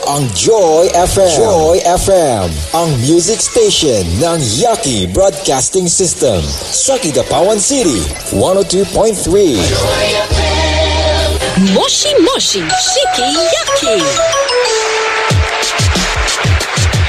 Ang Joy FM. Joy FM, ang music station ng Yaki Broadcasting System sa Kidapawan City, 102.3. Moshi Moshi Shiki Yaki.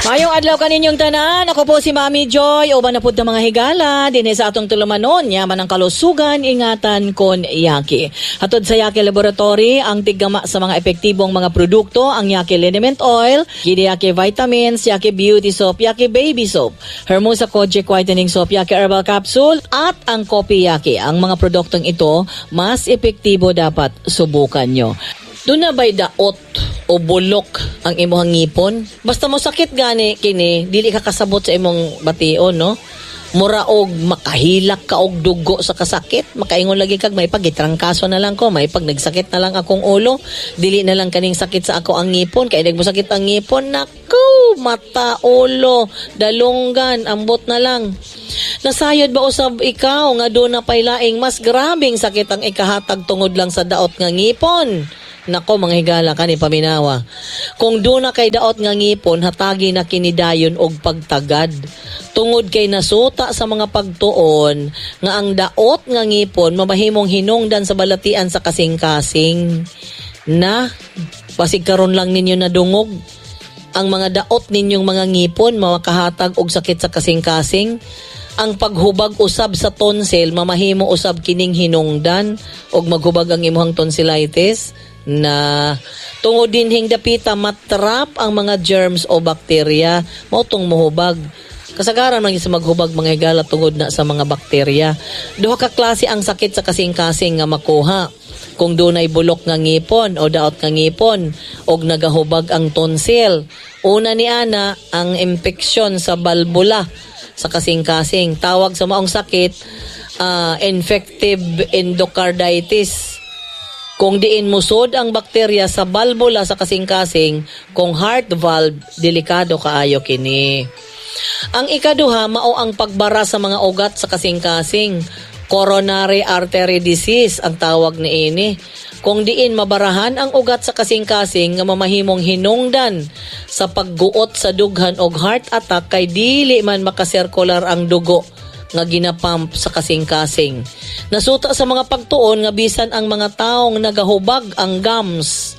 Mayong adlaw kaninyong tanan. Ako po si Mami Joy. Uban na pud ta, mga higala dinhi sa atong tulumanon. Yaman ang kalusugan, ingatan kon Yaki. Hatod sa Yaki Laboratory, ang tiggama sa mga epektibong mga produkto, ang Yaki Liniment Oil, Gidi Yaki Vitamins, Yaki Beauty Soap, Yaki Baby Soap, Hermosa Kojic Whitening Soap, Yaki Herbal Capsule, at ang Kopi Yaki. Ang mga produktong ito, mas epektibo, dapat subukan nyo. Duna ba'y daot o bulok ang imong ngipon? Basta mo sakit gani kini, dili ka kasabot sa imong bation, no? Mura og makahilak ka og dugo sa kasakit, makaingon lagi kag may pag gitrangkaso na lang ko, may pag nagsakit na lang akong ulo, dili na lang kaning sakit sa ako ang ngipon, kay nagmo sakit ang ngipon, nako, mata, ulo, dalunggan, ambot na lang. Nasayod ba usab ikaw nga duna pay laing mas grabing sakit ang ikahatag tungod lang sa daot nga ngipon? Nako, mga higala, kani paminawa. Kung duna kay daot nga ngipon, hatagi na kini dayon og pagtagad. Tungod kay nasuta sa mga pagtuon nga ang daot nga ngipon mamahimong hinungdan sa balatian sa kasing-kasing. Na basig karon lang ninyo nadungog ang mga daot ninyong mga ngipon makahatag og sakit sa kasing-kasing. Ang paghubag usab sa tonsil, mamahimo usab kining hinungdan og maghubag ang imong tonsillitis, na tungod dinhing dapita matrap ang mga germs o bakterya, mao tong muhubag. Kasagaran man sa maghubag, mga higala, tungod na sa mga bakterya. Duha ka klase ang sakit sa kasing-kasing nga makuha kung dunay bulok nga ngipon o daot nga ngipon og nagahubag ang tonsil. Una ni ana, ang impeksyon sa balbula sa kasing-kasing. Tawag sa maong sakit, infective endocarditis. Kung diin musod ang bakterya sa balbula sa kasing-kasing, kung heart valve, delikado kaayo kini. Ang ikaduha, mao ang pagbara sa mga ugat sa kasing-kasing. Coronary artery disease ang tawag niini. Kung diin mabarahan ang ugat sa kasing-kasing nga mamahimong hinungdan sa pagguot sa dughan og heart attack kay dili man makasirkular ang dugo nga ginapump sa kasing-kasing. Nasuta sa mga pagtuon nga bisan ang mga taong nagahubag ang gums.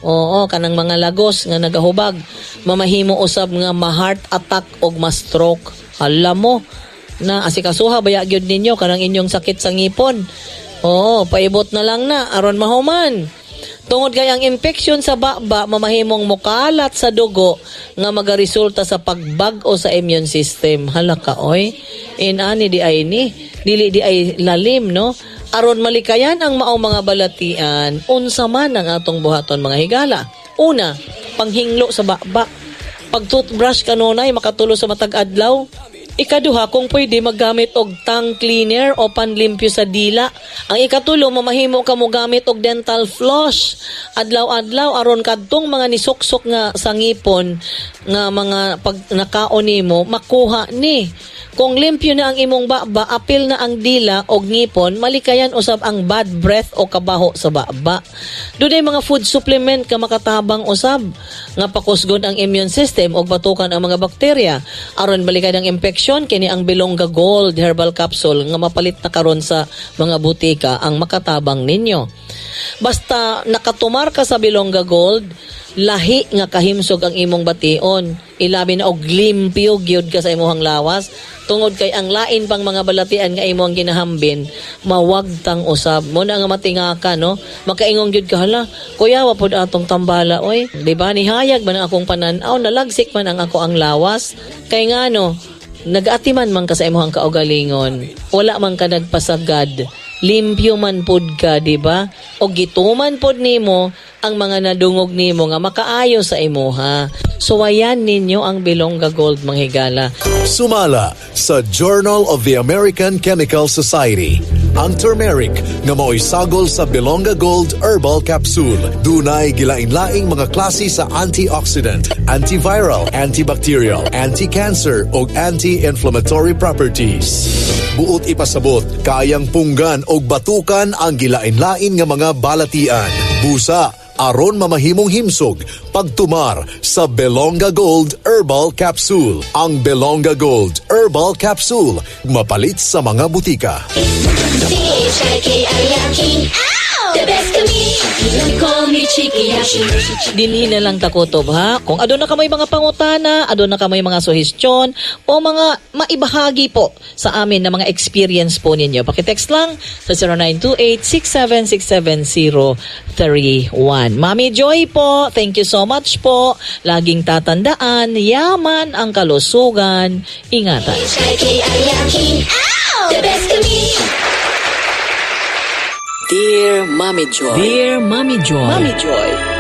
Oo, kanang mga lagos nga nagahubag, mamahimo usab nga ma-heart attack og ma-stroke. Alam mo na asikasuha baya gyud ninyo kanang inyong sakit sa ngipon. Oo, paibot na lang na aron mahuman. Tungod kay ang infection sa baba mamahimong mukalat sa dugo nga magaresulta sa pagbag-o sa immune system. Hala ka oy. Inani di ay ni, dili di ay lalim, no? Aron malikayan ang maong mga balatian, unsa man ang atong buhaton, mga higala? Una, panghinglo sa baba. Pag toothbrush kanunay makatulo sa matag adlaw. Ikaduha, kung pwede, maggamit og tongue cleaner o panlimpyo sa dila. Ang ikatulo, mamahimo ka mo gamit og dental floss. Adlaw-adlaw aron kadtong mga nisuksok nga sa ngipon nga mga pag nakaon nimo makuha ni. Kung limpyo na ang imong baba, apil na ang dila og ngipon, malikayan usab ang bad breath o kabaho sa baba. Dunay mga food supplement ka makatabang usab nga pakusgon ang immune system og batukan ang mga bakterya. Aron balikan ang infection, kini ang Bilongga Gold Herbal Capsule nga mapalit na karon sa mga butika ang makatabang ninyo. Basta nakatumar ka sa Bilongga Gold, lahi nga kahimsog ang imong bation. Ilabi na og limpyo gyud ka sa imong lawas tungod kay ang lain pang mga balatian nga imong ginahambin mawagtang usab mo na nga matinga ka, no? Makaingon gyud ka, "Hala, kuya, wa pod atong tambala oy, di ba? Nihayag man ang akong panan-aw, nalagsik man ang ako ang lawas." Kay ngano, nag-atiman man ka sa imong kaugalingon, wala man ka nagpasagad, limpyo man pud ka, di ba? O gituman pod nimo ang mga nadungog nimo nga makaayo sa imuha. Suwayan ninyo ang Bilongga Gold, mga higala. Sumala sa Journal of the American Chemical Society, ang turmeric nga mao'y sagol sa Bilongga Gold Herbal Capsule dunay gilain-laing mga klase sa antioxidant, antiviral, antibacterial, anti-cancer ug anti-inflammatory properties. Buot ipasabot, kayang punggan og batukan ang gilain-lain nga mga balatian, busa, Aron mamahimong himsog pagtumar sa Belonga Gold Herbal Capsule. Ang Belonga Gold Herbal Capsule mapalit sa mga butika. C-H-I-K-I-Y-A-K-I. The best kami. Call me Chikiyaki. Dinhi na lang takutob ha. Kung aduna kamoy mga pangutana, aduna kamoy mga suhestyon o mga maibahagi po sa amin na mga experience po ninyo. Pakitext lang sa 0928-6767031. Mami Joy po, thank you so much po. Laging tatandaan, yaman ang kalusugan. Ingatan. C-H-I-K-I-Y-A-K-I. The best kami. Dear Mommy Joy. Dear Mami Joy. Mommy Joy.